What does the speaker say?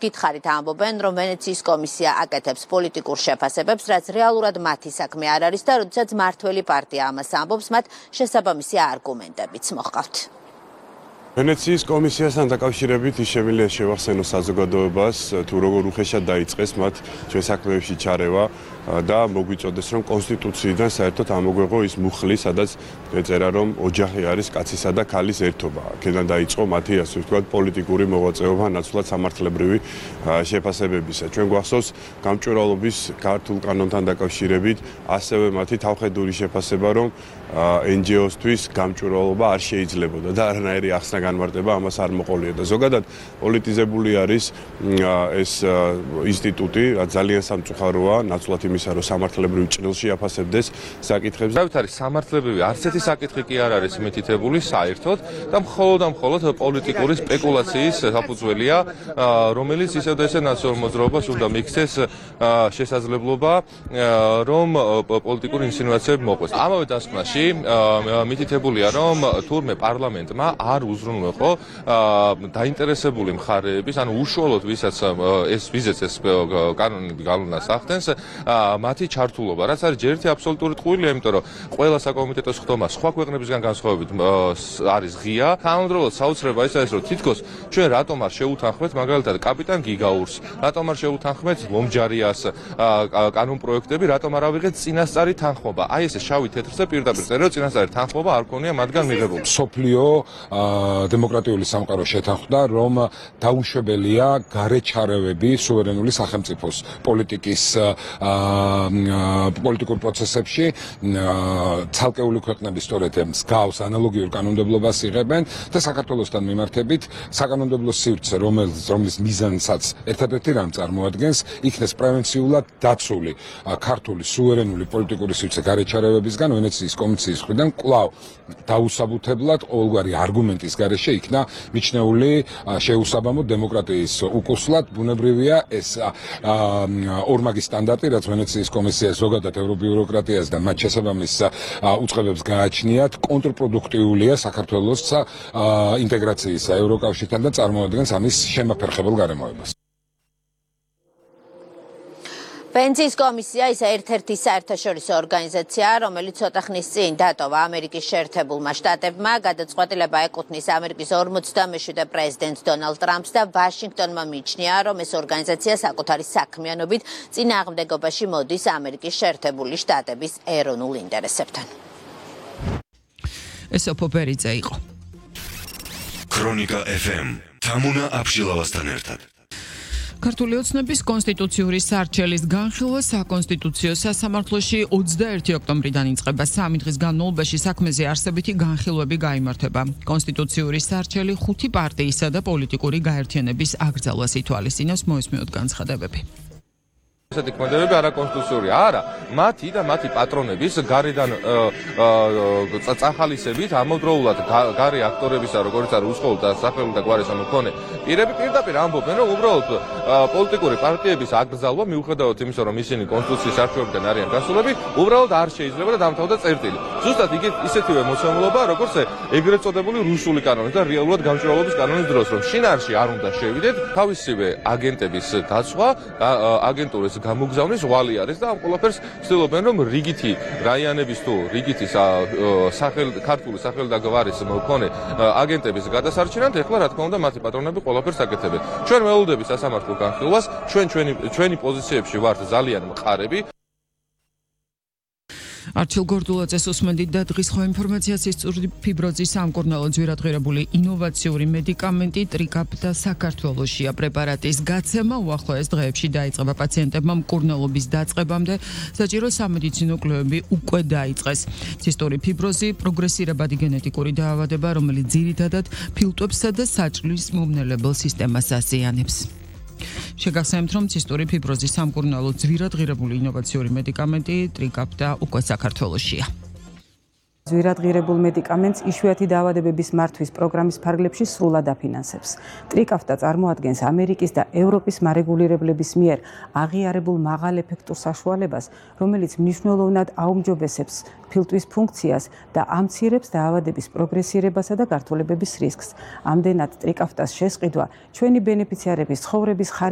გითხარით ამბობენ, რომ ვენეციის კომისია აკეთებს პოლიტიკურ შეფასებებს, რაც რეალურად მათი საქმე არ არის და როდესაც მართველი პარტია ამას ამბობს, მათ შესაბამისი არგუმენტებიც მოჰყავთ. ვენეციის კომისიასთან დაკავშირებით შეგვიძლია შევახსენოს საზოგადოებას, თუ როგორ უხეშად დაიწყეს მათ ჩვენ საქმეებში ჩარევა და მოგვიწოდეს, რომ კონსტიტუციიდან საერთოდ ამოგვეღო ის მუხლი, სადაც ეწერა, რომ ოჯახი არის კაცისა და ქალის ერთობა. აქედან დაიწყო მათი, ასე ვთქვათ, პოლიტიკური მოღვაწეობა ნაცვლად სამართლებრივი შეფასებებისა. ჩვენ გვახსოვს გამჭვირვალობის ქართულ კანონთან დაკავშირებით ასევე მათი თავხედური შეფასება, რომ NGO-სთვის გამჭვირვალობა არ შეიძლებოდა და არანაირი ახსნა განმარტება ამას არ მოყოლია და ზოგადად პოლიტიზებული არის ეს ინსტიტუტი, რაც ძალიან სამწუხაროა, ნაცვლად იმისა, რომ სამართლებრივ ჭრილში აფასებდეს საკითხებს. დავით არის სამართლებრივი არც ერთი საკითხი კი არ არის მითითებული საერთოდ და მხოლოდ პოლიტიკური სპეკულაციის საფუძველია, რომელიც ისევ და ისე ნაცნობ მოძრაობას უნდა მიქცეს შესაძლებლობა, რომ პოლიტიკური ინსინუაციები მოყვეს. ამავე დასკვნაში მითითებულია, რომ თურმე პარლამენტმა არ უზრუნველყო დაინტერესებული მხარეების, ანუ უშუალოდ ვისაც ეს კანონი გავლენას ახდენს, მათი ჩართულობა, რაც არის ჯერ ერთი აბსოლუტური ტყუილია, იმიტომ რომ ყველა საკომიტეტო ხდომა სხვა ქვეყნებისგან განსხვავებით არის ღია. თანამედროვე საოცრება ის არის, რომ თითქოს ჩვენ რატომ არ შეუთანხმეთ მაგალითად კაპიტან გიგაურს, რატომ არ შეუთანხმეთ ლომჯარიას კანონპროექტები, რატომ არ ავიღეთ წინასწარი თანხმობა. აი ესე შავი თეთრზე პირდაპირ წერილ წინასწარი თანხმობა არ ქონია მათგან მიღებული. სოფლიო დემოკრატიული სამყარო შეთანხმდა, რომ დაუშვებელია გარეჩარევები სუვერენული სახელმწიფოს პოლიტიკურ პროცესებში. ცალკეული ქვეყნები სწორედ მსგავს ანალოგიურ კანონმდებლობას იღებენ და საქართველოსთან მიმართებით საკანონმდებლო სივრცე, რომლის მიზანსაც ერთადერთი რამ წარმოადგენს, იქნეს პრევენციულად დაცული ქართული სუვერენული პოლიტიკური სივრცე გარეჩარევებისგან, ვენეციის კომისიის მხრიდან კვლავ დაუსაბუთებლად ყოველგვარი არგუმენტის გარეშე იქნა მიჩნეული შეუსაბამო დემოკრატიის უკუსლად. ბუნებრივია ეს ორმაგი სტანდარტი, რაც ვენეციის კომისიას ზოგადად ევრობიუროკრატიას და მათ შესაბამის უწყებებს გააჩნიათ, კონტრპროდუქტიულია საქართველოს ინტეგრაციისა ევროკავშირთან და წარმოადგენს ამის შემაფერხებელ გარემოებას. ვენეციის კომისია ის ერთ-ერთი საერთაშორისო ორგანიზაციაა, რომელიც ცოტა ხნის წინ დატოვა ამერიკის შეერთებულმა შტატებმა. გადაწყვეტილება ეკუთვნის ამერიკის 47-მე პრეზიდენტ დონალდ ტრამპს და ვაშინგტონმა მიიჩნია, რომ ეს ორგანიზაცია საკუთარი საქმიანობით წინააღმდეგობაში მოდის ამერიკის შეერთებული შტატების ეროვნულ ინტერესებთან. ეს ოფობერიძე იყო. ქრონიკა FM თამუნა აბშილავასთან ერთად. ქართული ოცნების კონსტიტუციური სარჩელის განხილვა საკონსტიტუციო სასამართლოში 21 ოქტომბრიდან იწყება. 3 დღის განმავლობაში საქმეზე არსებითი განხილვები გაიმართება. კონსტიტუციური სარჩელი 5 პარტიისა და პოლიტიკური გაერთიანების აკრძალვას ითვალისწინებს. მოისმინოთ განცხადებები. ესეთი ქმედებები არაკონსტიტუციური არა, მათი და მათი პატრონების გარედან წახალისებით ამავდროულად გარე აქტორებისა, როგორც არის უსხოლოდ და სახელმწიფო და გვარესა მქონე პირები პირდაპირ ამბობენ, რომ უბრალოდ პოლიტიკური პარტიების აკრძალვა მიუხედავად იმისა, რომ ისინი კონსტიტუციის არჩევებიდან არიან გასულები, უბრალოდ არ შეიძლება და დამთავრდა წერტილი. ზუსტად ისეთივე მოცემულობა, როგორც ეგრეთ წოდებული რუსული კანონის და რეალურად გამჭვირვალობის კანონის დროს, რომ შინაარსში არ უნდა შევიდეთ, თავისივე აგენტების დაცვა, აგენტურის გამოგზავნის ღვალი არის და ამ ყველაფერს ცდილობენ, რომ რიგითი რაიონების თუ რიგითი ქართული სახელი და გვარის მქონე აგენტების გადასარჩენად, ეხლა რა თქმა უნდა მათი პატრონები ყველაფერს აკეთებენ. ჩვენ ველოდებით სასამართლო განხილვას, ჩვენი პოზიციებში ვართ ძალიან მყარები. არჩილ გორდულაძეს უსმენდით და დღის ხო ინფორმაციას ისწრაფი ფიბროზის სამკურნალო ძვირადღირებული ინოვაციური მედიკამენტი ტრიკაპტა საქართველოშია. პრეპარატის გაცემა უახლოეს დღეებში დაიწყება. პაციენტებმა მკურნალობის დაწყებამდე საჭირო სამედიცინო კვლევები უკვე დაიწყეს. ცისტური ფიბროზი პროგრესირებადი გენეტიკური დაავადება, რომელიც ძირითადად ფილტვებსა და საჭმლის მომნელებელ სისტემას აზიანებს. შეგახსენებთ, რომ ცისტური ფიბროზის სამკურნალო ძვირადღირებული ინოვაციური მედიკამენტი ტრიკაპტა უკვე საქართველოშია. ძვირადღირებულ მედიკამენტს იშვიათი დაავადებების მართვის პროგრამის ფარგლებში სრულად აფინანსებს. ტრიკაფტა წარმოადგენს ამერიკის და ევროპის მარეგულირებლების მიერ აღიარებულ მაღალ ეფექტურ საშუალებას, რომელიც მნიშვნელოვნად აუმჯობესებს ფილტვის ფუნქციას და ამცირებს დაავადების პროგრესირებასა და გართულებების რისკს. ამდენად ტრიკაფტას შესყიდვა ჩვენი ბენეფიციარების ცხოვრების